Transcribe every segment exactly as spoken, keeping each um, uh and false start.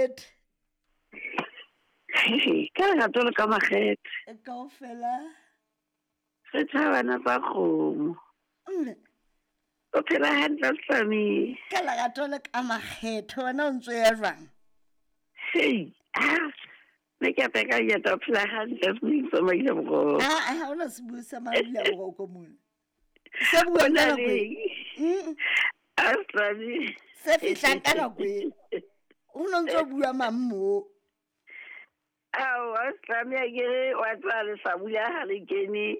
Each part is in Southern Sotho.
makgethe. Ka lerato le ka makgethe. Kaofela. Re thabana tsa kgomo. Mme. O phela hantle Slami. Ka lerato le ka makgethe wena o ntso ya jwang? Hei, ah, ne ke apeka ya ta phela hantle se maile boroko. Ah, ha ona se bua sa maile boroko mona. Se bua ka nako e. Mm. Ah, Slami. Se fihlang ka nako e. O no ntso bua mang mo? Ao, Slami a ke re wa tswa le hlabula ha le kene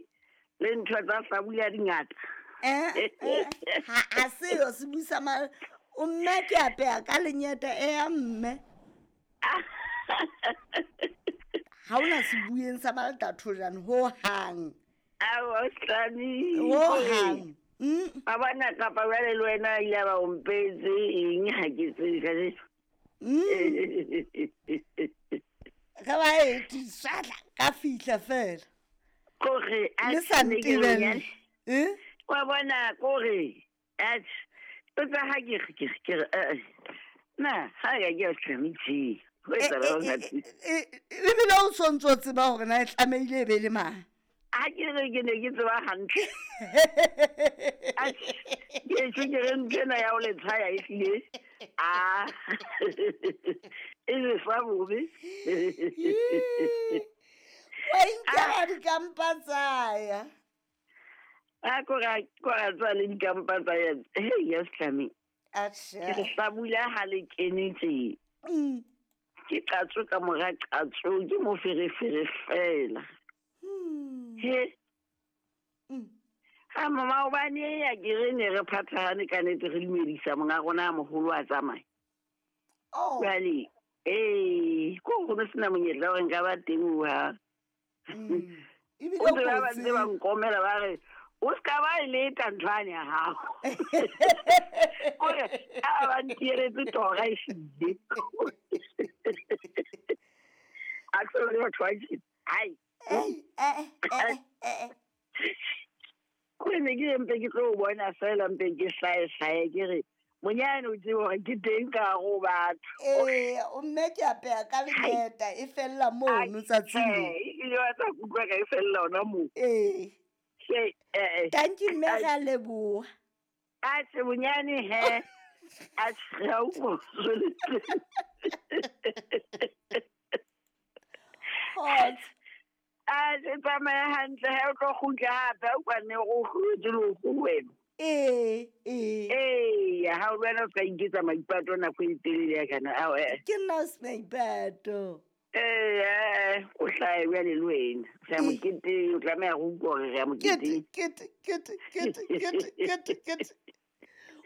le ntho tsa hlabula di ngata. Eh, eh, ha a se yo se busa ma o mme ke apeya ka lenyeta e ya mme. Ha ona se bueng sa malta thojane ho hang. Ao, Slami. Ho hang. Mm. Ba bona kapa jwale le wena ile ba o mpetse eng ha ke tsebe ka le. Mm. Ga ba e tisatla ka fihla fela. Kore a Le sa ne ke ntebelle. Eh? Wa bona kore atjhe o tsa ha ke re ke re ke re eh, na ha ya ke Slami tje. Ho E etsahala e hore e e ebile o sontso o tseba hore na e tlamehile e be le mang. Ha ke re ke ne ke tseba hantle. Atjhe, ke tjho ke re ntho ena ya ho le tshaya ehlile. Ah. E le fa bobe. Wa inkela dikampa tsa ya. A ko ra ko ra tswa le dikampa tsa ya. Hei ya Slami. Atjhe. Ke re hlabula ha le kene tje. Mm. Ke qatso ka mora qatso ke moferefere fela. Hmm. He. Mm. Ha mama hobane ya ke re ne re phathahane ka nnete re dumedisa monga rona a moholo a tsamaye. Oh. Jwale, eh, ko go no sena monyetla hore nka ba teng ho ha. Mm. Ebile O tseba ba kotsi. ntse ba nkomela ba re o ska ba e leta nthwane ya hao. Kore a ba ntieretse tora e hlile. A ke le batho ba tjena. Hai. Eh, eh, eh, eh, eh. Kore ne ke mpe ke tlo o bona fela mpe ke hlae hlae ke re monyane o tsebe hore ke teng ka hare ho batho. Eh, o mme ke apeya ka lenyeta e fella mono tsatsing le. Eh, ile wa tla kutlwa ka e fella hona moo. Eh. Ke, eh, eh. Thank you mme re a leboha. Atjhe bonyane he. Atjhe, ha o mo Kgotso. Atjhe, tsamaya hantle he o tlo kgutla hape o kwane o kgutse le ho wena. Eh, eh. Eh, ha o wena o ska iketsa maipato nako e telele ya kana. Ao, eh. Ke nna o se maipato. Eh, eh, o hlahe jwale le wena. O hlahe Eh. moketeng, o tlameha ho utlwa hore re ya moketeng. Kete, kete, kete, kete, kete, kete.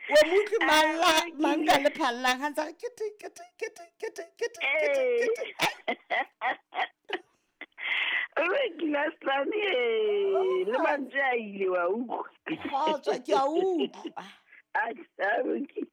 Wa mo utlwe mang la- mang ka le phallang ha ntse a re kete, kete, kete, kete, kete, kete, kete. Re kila Slami, eh, le mantswe a ile wa utlwa. Kgotso, ke a utlwa. Atjhe,